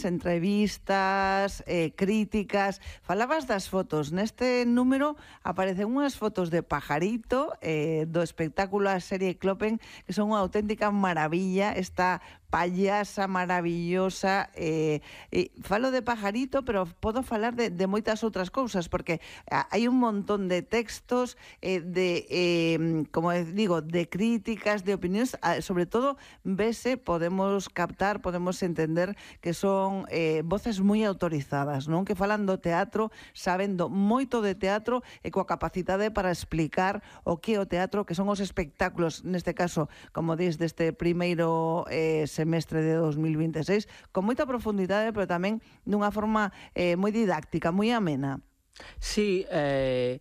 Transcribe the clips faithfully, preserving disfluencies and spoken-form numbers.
opinións, entrevistas, eh, críticas. Falabas das fotos. Neste número aparecen unhas fotos de Pajarito, eh, do espectáculo a serie Clopen, que son unha auténtica maravilla. Esta payasa maravillosa, eh, eh, falo de Pajarito, pero podo falar de, de moitas outras cousas, porque hai un montón de textos, eh, de, eh, como digo, de críticas, de opinións, sobre todo, vese, podemos captar, podemos entender que son eh, voces moi autorizadas, non? Que falan do teatro, sabendo moito de teatro e coa capacidade para explicar o que é o teatro, que son os espectáculos, neste caso, como dis, deste primeiro eh, semestre de dos mil vinte e seis, con moita profundidade, pero tamén dunha forma eh, moi didáctica, moi amena. Sí, eh,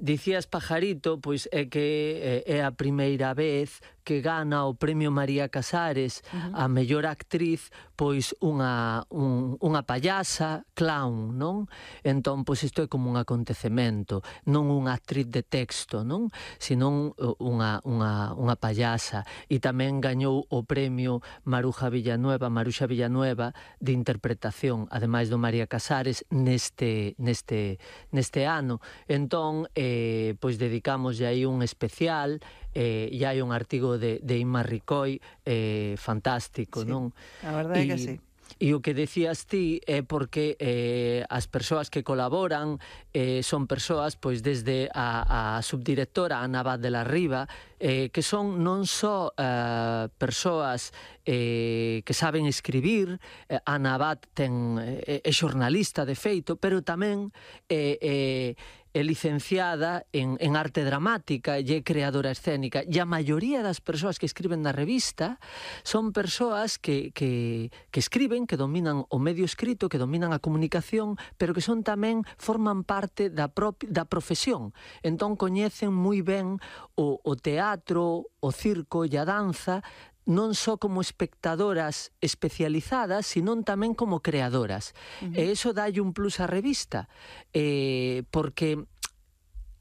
dicías Pajarito, pois é que é a primeira vez que gana o Premio María Casares uh-huh. a mellor actriz, pois unha, un, unha payasa clown, non? Entón, pois isto é como un acontecemento, non unha actriz de texto, non? Senón unha, unha, unha payasa. E tamén gañou o Premio Maruja Villanueva, Maruxa Villanueva, de interpretación, ademais do María Casares, neste, neste, neste ano. Entón, eh, pois dedicamos aí un especial, eh, e hai un artigo de, de Inma Ricoi eh, fantástico, sí, non? A verdade é que sí. E o que decías ti é porque eh, as persoas que colaboran eh, son persoas, pois desde a, a subdirectora Ana Abad de la Riva, eh, que son non só eh, persoas eh, que saben escribir, eh, Ana Abad ten, eh, é xornalista de feito, pero tamén eh, eh, é licenciada en, en arte dramática e é creadora escénica, e a maioría das persoas que escriben na revista son persoas que, que, que escriben, que dominan o medio escrito, que dominan a comunicación, pero que son tamén, forman parte da, propi, da profesión. Entón coñecen moi ben o, o teatro, o circo e a danza, non só como espectadoras especializadas, senón tamén como creadoras. Uh-huh. E iso dalle un plus á revista, eh, porque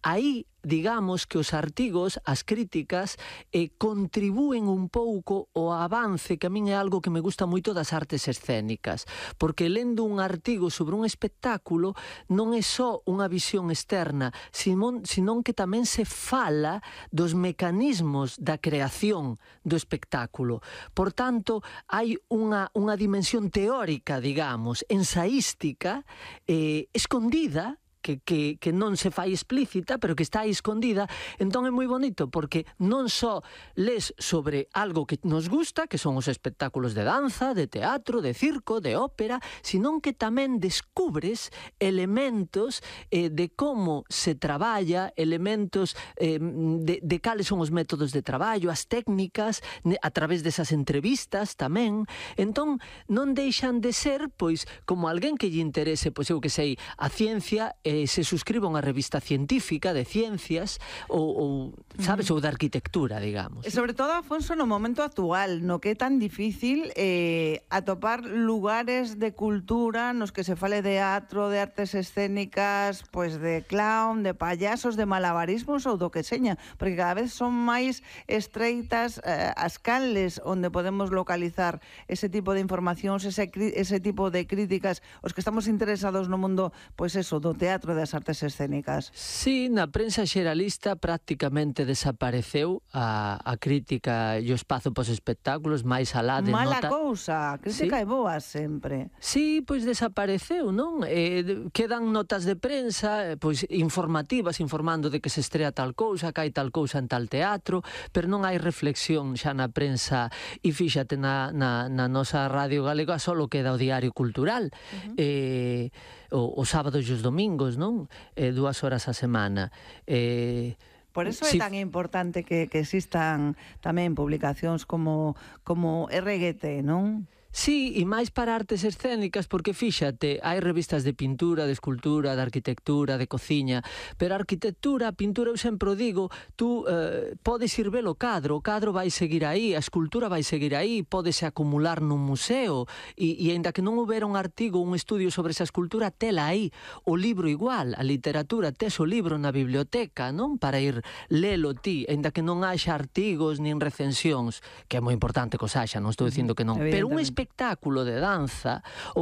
aí, digamos que os artigos, as críticas, eh, contribúen un pouco ao avance, que a min é algo que me gusta moito das artes escénicas, porque lendo un artigo sobre un espectáculo non é só unha visión externa, senón, senón que tamén se fala dos mecanismos da creación do espectáculo. Por tanto, hai unha, unha dimensión teórica, digamos, ensaística, eh, escondida, Que, que, que non se fai explícita, pero que está aí escondida. Entón é moi bonito, porque non só les sobre algo que nos gusta, que son os espectáculos de danza, de teatro, de circo, de ópera, senón que tamén descubres elementos eh, de como se traballa, elementos eh, de, de cales son os métodos de traballo, as técnicas, a través desas entrevistas tamén. Entón non deixan de ser, pois, como alguén que lle interese, pois eu que sei, a ciencia, Eh, se suscriba unha revista científica de ciencias ou, ou sabes, uh-huh. ou de arquitectura, digamos. E sobre todo, Afonso, no momento actual, no que é tan difícil eh, atopar lugares de cultura nos que se fale de teatro, de artes escénicas, pois de clown, de payasos, de malabarismos ou do que seña, porque cada vez son máis estreitas eh, as canles onde podemos localizar ese tipo de informacións, ese, ese tipo de críticas, os que estamos interesados no mundo, pois eso, do teatro, das artes escénicas. Sí, na prensa xeralista prácticamente desapareceu a, a crítica e o espazo pos espectáculos, máis alá de Mala nota... cousa, a crítica sí. é boa sempre. Sí, pois desapareceu, non? Eh, quedan notas de prensa, pois informativas, informando de que se estrea tal cousa, que hai tal cousa en tal teatro, pero non hai reflexión xa na prensa, e fíxate na, na, na nosa Radio Galega só queda o Diario Cultural, uh-huh. eh, o, o sábado e os domingos, non? Eh, dúas horas a semana. Eh, Por eso é si... tan importante que, que existan tamén publicacións como, como R G T, non? Sí, e máis para artes escénicas, porque fíxate, hai revistas de pintura, de escultura, de arquitectura, de cociña, pero a arquitectura, a pintura, eu sempre o digo, tú eh, podes ir ver o cadro, o cadro vai seguir aí, a escultura vai seguir aí, podese acumular nun museo, e, e ainda que non houbera un artigo, un estudio sobre esa escultura, tela aí, o libro igual, a literatura, tes o libro na biblioteca, non? Para ir lelo ti, ainda que non haxa artigos nin recensións, que é moi importante que os haxa, non estou dicindo que non, pero un espectáculo de danza ou